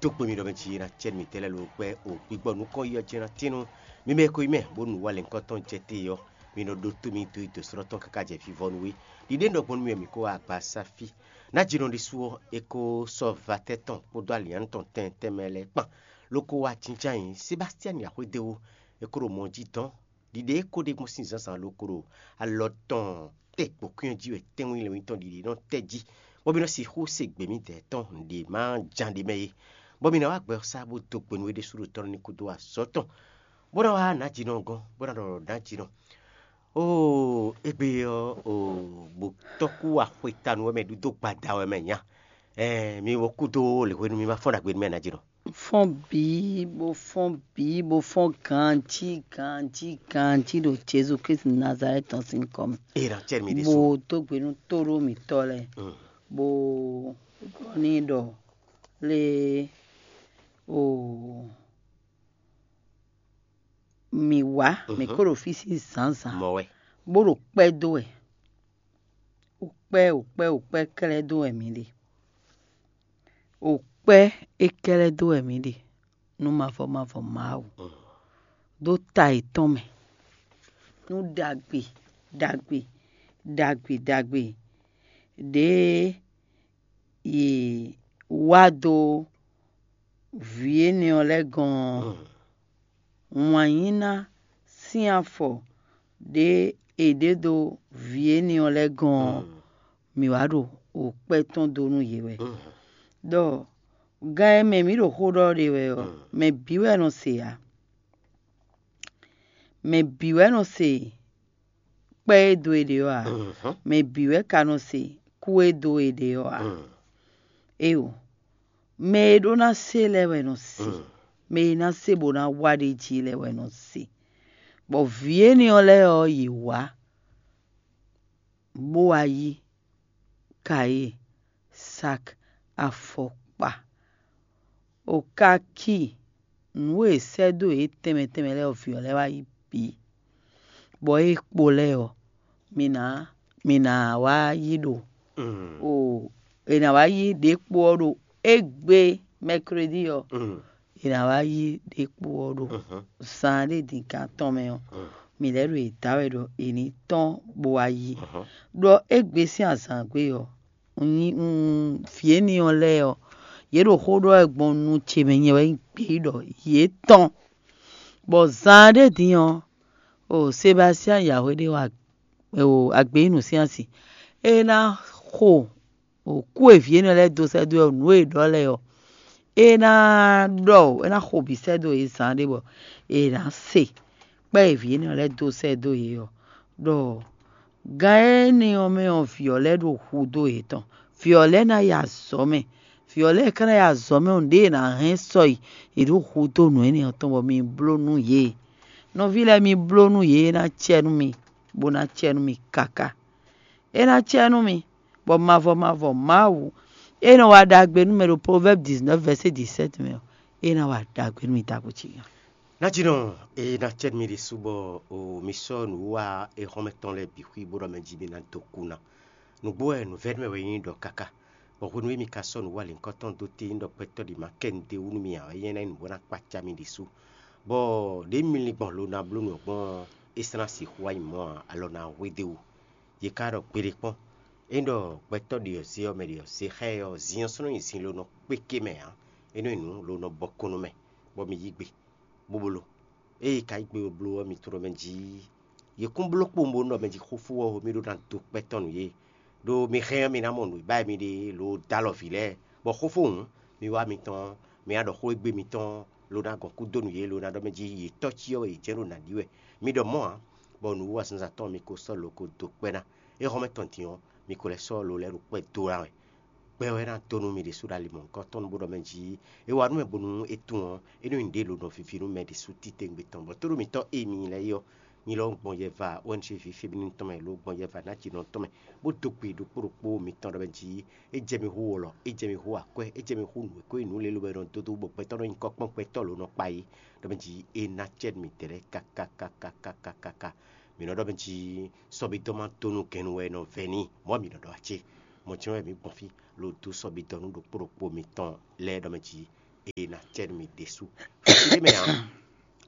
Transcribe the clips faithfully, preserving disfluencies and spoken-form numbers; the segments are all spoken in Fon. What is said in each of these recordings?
Dó gbe mi ɖɔ mɛ jí ná cɛ mǐtɛn lɛ́ɛ ló gbɛ́ o gbigbɔ nukɔn yi ɔ́ jɛ́n ná tín nú mi mɛ e ko nyí mɛ bónú wá lɛ̌ngbɔ́ tɔn jɛ te ɔ́, mi nɔ ɖótó mì dó yi dǒ slɔ́ tɔn káká jɛ vivɔnu wé. Ɖiɖe un ɖɔ gbɔn nú mi wɛ mǐ ko wá agbaza fí. Nǎjínɔ ɖésú ɔ́, é ko sɔ́ vatɛ́ tɔn kpódó alǐnnyánú tɔn tɛn tɛnmɛ lɛ́ɛ kpan, ló kó wá jínjɔ́n ayǐ Sebástiani axwédéwú, é ko ɖo mɔ jí dɔn. Ɖiɖe e ko ɖe gbɔn sín zǎnzǎn ɖokpó ɖo alɔ tɔn tɛ́ gbǒkwín ɔ́ jí wɛ tɛ́nwún lɛ́ɛ nyí tɔn ɖiɖe nɔ tɛ́ jí, bɔ mì nɔ sixú se gbě mǐdɛɛ tɔn nǔɖé ma ján ɖ'é mɛ é, bɔ mì ná wá gbɛ ɔ́ sá bó dó gbe nú é ɖésú ɖo tɔ́ ní kúdó azɔ̌ tɔn, bó ná wá nǎjínɔ gɔ́n, bó ná ɖɔ nǎjínɔ. Oo, égbé ɔ́, oo, bó tɔ́ kú axwetanu wɛ mɛ ɖu dó gbada wɛ mɛ nya. Ɛɛ, mi wɔ kúdó lě hwenu mi ma fɔ́n ɖagbe nú mɛ nǎjínɔ. Fɔ́n bǐ, bó fɔ́n bǐ, bó fɔ́n ganjí ganjí ganjí ɖo Jezu Klísu Nazalɛ́ti tɔn sín kɔ mɛ. Ena cɛ mi ɖésú. Bó dó gbe nú tóɖó mǐtɔn lɛ́ɛ, bó ɖɔ n'i ɖɔ lé o mǐ wá, mǐ ko ɖo fí sín zǎnzǎn, mɔ wɛ. Bó ɖo kpɛ́ dó wɛ. Wǔkpɛ́, wǔkpɛ́, wǔkpɛ́ kɛ́lɛ́ dó wɛ mǐ ɖe. Wǔkpɛ́ é kɛ́lɛ́ dó wɛ mǐ ɖe nú mavɔ mavɔ Mawu, ɖó ta yětɔn mɛ, nú ɖagbe ɖagbe ɖagbe ɖagbe ɖě yě wá dó vǐ énɛ́ ɔ́ lɛ́ɛ gɔ́n ɔ́, wǎnyíná sín afɔ ɖě è ɖě dó vǐ énɛ́ ɔ́ lɛ́ɛ gɔ́n ɔ́, mǐ wá ɖo wǔkpɛ́ tɔn dó nú yě wɛ. Ɖɔ gan e mɛ mǐ ɖo xó ɖɔ ɖe wɛ ɔ́, mɛ bǐ wɛ nɔ se ǎ. Mɛ bǐ wɛ nɔ se kpɛ́ e dó e ɖe ɔ́ ǎ. Mɛ bǐ wɛ ka nɔ se kú e dó e ɖe ɔ́ ǎ. Éeǒ, mɛ e ɖó ná se lɛ́ɛ wɛ nɔ se, mɛ e ná se bó ná wa ɖ'é jí lɛ́ɛ wɛ nɔ se. Bɔ vǐ énɛ́ ɔ́ lɛ́ɛ ɔ́, yě wá bó wá yí kayé, sak, afɔkpa, okaki, nǔ e è sɛ́ dó yě tɛnmɛ tɛnmɛ lɛ́ɛ ɔ́, vǐ ɔ́ lɛ́ɛ wá yí bǐ. Bɔ é kpo lɛ́ɛ ɔ́, mi ná mi ná wá yí ɖo o è nǎ wá yí ɖěkpo ɔ́ ɖo égbé mɛklódi ɔ́, è nǎ wá yí ɖěkpo ɔ́ ɖo zan ɖé din kan tɔn mɛ ɔ́, mǐ lɛ́ ɖo yě da wɛ ɖɔ è ní tɔ́n bó wá yí. Ɖɔ égbé sín azǎngbe ɔ́, un nyí un vǐ énɛ́ ɔ́ lɛ́ɛ ɔ́, yě ɖo xó ɖɔ wɛ gbɔn nu ce mɛ nyɛ wɛ nyí gbeyíɖɔ yě tɔn. Bɔ zan ɖé din ɔ́, o Sebastían yǎwe ɖé wa o agbeyínu sín asi, é ná xo o kú e vǐ énɛ́ lɛ́ɛ dó sɛ́ dó wɛ nǔ e è ɖɔ lɛ́ɛ ɔ́, é ná ɖɔ é ná xo bǐ sɛ́ dó yě zan ɖé bɔ è nǎ se kpɛ́ e vǐ énɛ́ lɛ́ɛ dó sɛ́ dó yě ɔ́, ɖɔ gan énɛ́ ɔ́ mɛ ɔ́, vǐ ɔ́ lɛ́ɛ ɖo hudó yětɔn. Vǐ ɔ́ lɛ́ɛ ná yi azɔ̌ mɛ. Vǐ ɔ́ lɛ́ɛ ka ná yi azɔ̌ mɛ ɔ́, nǔɖé è nǎ hɛn sɔ yi, è ɖǒ hudó nǔ énɛ́ ɔ́ tɔn bɔ mi bló nú yě. Nɔví lɛ́ɛ, mi bló nú yě, é ná cɛ nú mi, bó ná cɛ nú mi káká. É ná cɛ nú mi, bɔ mavɔ mavɔ Mawu e nɔ wa ɖagbe nú mɛ ɖo Proverbes dix-neuf verset dix-sept mɛ ɔ́, é ná wa ɖagbe nú mi ɖagbe cí. Nǎjínɔ e ná cɛ nú mi ɖésú bɔ o mi sɔ́ nǔwiwa e xɔ́mɛ tɔn lɛ́ɛ bǐ xwí bó ɖɔ mɛ jí mi ná dó kú ná. Nǔgbó wɛ nǔvɛ́nú mɛ wɛ nyí ɖɔ káká, bɔ hwenu e mi ka sɔ́ nǔ wa lěhunkɔtɔn dó te nyí ɖɔ gbɛtɔ́ ɖě ma kɛ nu d'é wú nú mi ǎ wɛ nyɛ ná nyí nǔ bó ná kpaca mi ɖésú. Bɔ ɖě mi lin gbɔn lo ná bló nǔ ɔ́ gbɔn ɔ́, é sɔ́ ná sixú wá nyí mɔ̌ ǎ, alɔ ná hwedó e wú. Yě ka ɖɔ gbeɖé kpɔ́n, é ɖɔ gbɛtɔ́ ɖě ɔ́ zé ɔ́ mɛ ɖě ɔ́ zé xá ɛ ɔ́, zin ɔ́ sɔ́ nɔ nyi zin lo nɔ kpé ké mɛ ǎ, é nɔ nyi nǔ lo nɔ bɔ kɔn nú mɛ, bɔ mi yí gbe, bó bló. Ée ka yí gbe bó bló ɔ́, mi tunwun ɖɔ mɛ jí yě kún bló kpowun bónú ɖɔ mɛ jí xófó ɔ́ mì ɖó ná dó kpɛ́ tɔn nú yě, ɖó mi hɛn ɔ́, mi ná mɔ nǔ e ba wɛ mi ɖe lo dó alɔ vǐ lɛ́ɛ, bɔ xófó hǔn, mi wá mitɔn, mi wá ɖɔ xó égbé mitɔn, lo ná gɔn kú dó nú yě, lo ná ɖɔ mɛ jí yě tɔ́ cyɔ wɛ yě jɛ́n ɖo nǎ ɖi wɛ. Mi ɖɔ mɔ̌ ǎ, bɔ nǔwiwa zǎnzǎn tɔn mi ko sɔ́ lo ko dó kpɛ́ ná. É hɔn mɛ tɔn din ɔ́, mi ko lɛ́ sɔ́ lo lɛ́ɛ ɖo kpɛ́ dó ná wɛ. Gbɛ wɛ ná dó nú mi ɖésú ɖo ali mɔ̌hunkɔtɔn bó ɖɔ mɛ jí é wa nú mɛ bónú é tunwun ɔ́, é nɔ nyi nǔɖé lo nɔ vivi nú mɛ ɖésú titewungbe tɔn, bɔ tóɖó mitɔ́ e mi nyí lɛ́ɛ é ɔ́, nyi lɔ gbɔn yɛva O N G vi féminine tɔn mɛ lo gbɔn yɛva nǎjínɔ tɔn mɛ, bó dó gbe ɖokpó ɖokpó mitɔn ɖɔ mɛ jí é jɛ mi hú wɔlɔ, é jɛ mi hú akwɛ́, é jɛ mi hú nǔ e ko nyí nǔ lě lo wɛ nɔ dó dó bɔ gbɛtɔ́ nɔ nyí kɔ́kpɔ́n gbɛtɔ́ lo nɔ kpa yí, ɖɔ mɛ jí é ná cɛ nú mi dɛ̌ɖɛ́ kakakakakakaka. Mǐ nɔ ɖɔ mɛ jí sɔ́bídɔ́ ma dó nú gɛnnu wɛ è nɔ vɛ n'i, mɔ̌ mǐ nɔ ɖɔ acé. Mɔ̌ jɛ́n wɛ mǐ gbɔn fí, lo dó sɔ́bídɔ́ nú ɖokpó ɖokpó mitɔn lɛ́ɛ ɖɔ mɛ jí e ná cɛ nú mi ɖésú. Xɛsi ɖé mɛ ǎ,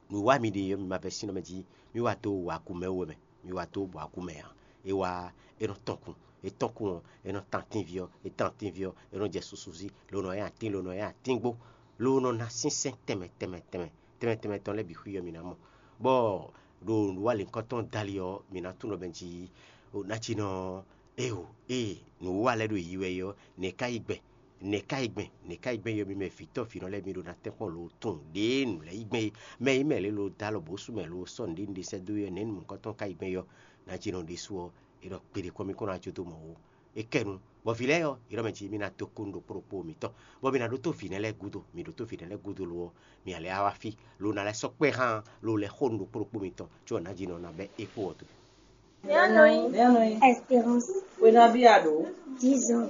nǔ wa mi ɖe ɔ́, mi ma vɛ́ sín ɔ́ mɛ jí, mi wá dó wa kú mɛ wú wɛ mɛ, mi wá dó bɔ akú mɛ ǎ. É wá, é nɔ tɔn kun, é tɔn kun ɔ́, é nɔ tan atínví ɔ́, é tan atínví ɔ́, é nɔ jɛ susu jí, lo nɔ nyi atín, lo nɔ nyi atín gbó, lo nɔ ná sínsɛ́n tɛnmɛ tɛnmɛ tɛnmɛ tɛnmɛ tɛnmɛ tɔn lɛ́ɛ bǐ xwí ɔ́ mi ná mɔ. Bɔ ɖo nǔwanlínkɔn tɔn dali ɔ́, mi ná tunwun ɖɔ mɛ jí, o ná jí nɔ, éeǒ, ée nǔwiwa lɛ́ɛ ɖo yiyi wɛ é ɔ́, nɛ̌ ká yi gbɛn? Nɛ̌ ká yi gbɛn? Nɛ̌ ká yi gbɛn yɔ mi mɛ vǐtɔ́ vǐnɔ lɛ́ɛ mi ɖo ná tɛ́nkpɔ́n lo tunwun ɖěe nǔ lɛ́ɛ yi gbɛn é. Mɛ e nyí mɛ lě lo dó alɔ bǒ sú mɛ lo sɔ́ nǔɖé nǔɖé sɛ́ dó é ɔ́, nɛ̌ nǔ mɔ̌kɔ́tɔn ka yi gbɛn yɔ? Ná jí nɔ ɖésú ɔ́, é ɖɔ kpeɖé kɔn mì kɔn ná jó dó mɔ ó. É kɛ nu, bɔ vǐ lɛ́ɛ ɔ́, é ɖɔ mɛ jí mi ná dó kó nú ɖokpó ɖokpó mitɔn, bɔ mi ná ɖótó vǐ nɛ́ lɛ́ɛ gúdo. Mi ɖótó vǐ nɛ́ lɛ́ɛ gúdo lo ɔ́, mi ǎ lɛ́ wá fí, lo ná lɛ́ sɔ́ kpɛ́ hán, lo lɛ́ xo nú ɖokpó ɖokpó mitɔn, có ɔ́ ná jí nɔ ná bɛ́ é kpó ɔ́ dó. Espérance, Wenabi alo. Dix ans.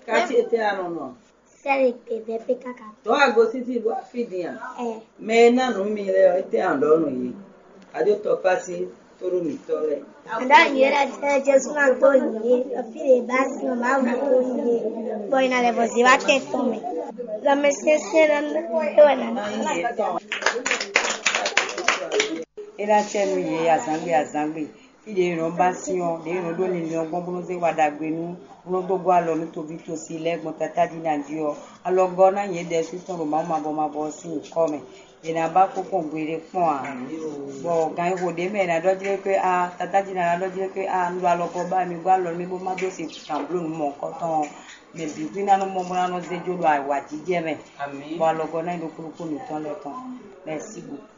Kati ete anɔnɔ. Sɛ́ le kpɛvɛ pé káká. Tɔ́ agositi bó afi din a? Ɛ. Mɛ e ná nǔ mi lɛ ɔ́, étɛ́ an ɖɔ nú yě? Adó tɔkpási tóɖó mǐtɔn lɛ́ɛ. Aɖá nyǐ é ɖɔ Jezu ná gbó nyǐ é, ɖɔ fí ɖě bá sin ɔ́, Mawu ná gbó nyǐ é, bɔ è nǎ lɛ́ vɔ zě wá tɛn tɔn mɛ. Lanmɛsyɛnsyɛn ná é wɛ ná ná. É ná cɛ nú yě azǎngbe azǎngbe. Fí ɖě è nɔ ba sin ɔ́, ɖě è nɔ ɖó linlin ɔ́ gbɔn bó nɔ́ zé wa ɖagbe nú, bó nɔ́ dó gɔ́ alɔ nú toví tosi lɛ́ɛ gbɔn Tatá jí ná jí ɔ́, alɔgɔ́ ná nyɛ ɖɛ̌ sú tɔn ɖo Mawu mavɔ mavɔ ɔ́ sín nyǐkɔ mɛ. È nǎ ba kpɔ́n gbeɖé kpɔ́n ǎ. Bɔ gan e xo ɖě mɛ è nǎ ɖɔ jlé xwé a, Tatá jí ná ná ɖɔ jlé xwé a, un ɖo alɔgɔ́ ba mi gɔ́ alɔ nú mì bó má dó se gǎn bló nǔ mɔ̌hunkɔtɔn ɔ́, mɛ bǐ xwí ná nɔ mɔ bó ná nɔ zé jó ɖo awǎjijɛ mɛ. Bɔ alɔgɔ́ ná nyí ɖokpó ɖokpó mǐtɔn lɛ́ɛ tɔn. Merci beaucoup.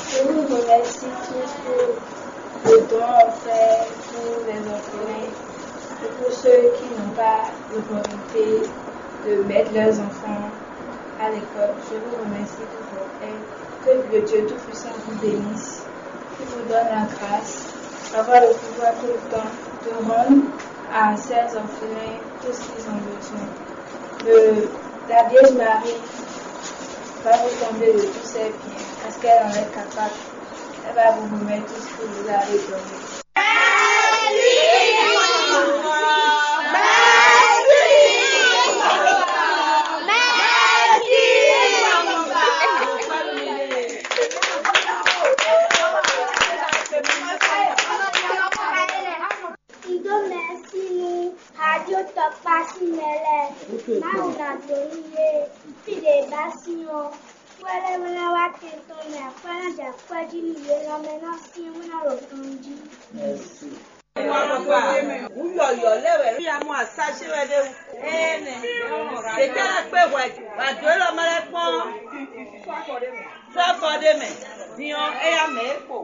Je vous remercie tous pour le don offert pour les orphelins et pour ceux qui n'ont pas l'opportunité de mettre leurs enfants à l'école. Je vous remercie pour votre aide. Que le Dieu Tout-Puissant vous bénisse, qui vous donne la grâce d'avoir le pouvoir tout le temps de rendre à ces orphelins tout ce qu'ils ont besoin. Le, la Vierge Marie va vous combler de tous ses biens, parce qu'elle en est capable. Elle va vous remettre tout ce que vous avez donné. Un dó mɛ̌si nú Radio Tɔkpá sín mɛ lɛ́ɛ, Mawu ná dó nú yě, fí ɖě bá sín ɔ́, kwɛ́ lɛ́ɛ wɛ ná wá tɛn tɔn mɛ, akwɛ́ ná jɛ akwɛ́ jí nú yě, lanmɛ ná syɛ́n bó ná ɖo ganjí. Wú yɔ̌yɔ́ lɛ́ wɛ. Yá mɔ asá ṣe wɛ ɖé wú. Énɛ́. Ɖětɛ́ lɛ́ kpé hwɛ, wǎ dó élɔ́ mɛ lɛ́ kpɔ́n. Sɔ́ afɔ ɖé mɛ. Din ɔ́, éyá mɛ é kpo.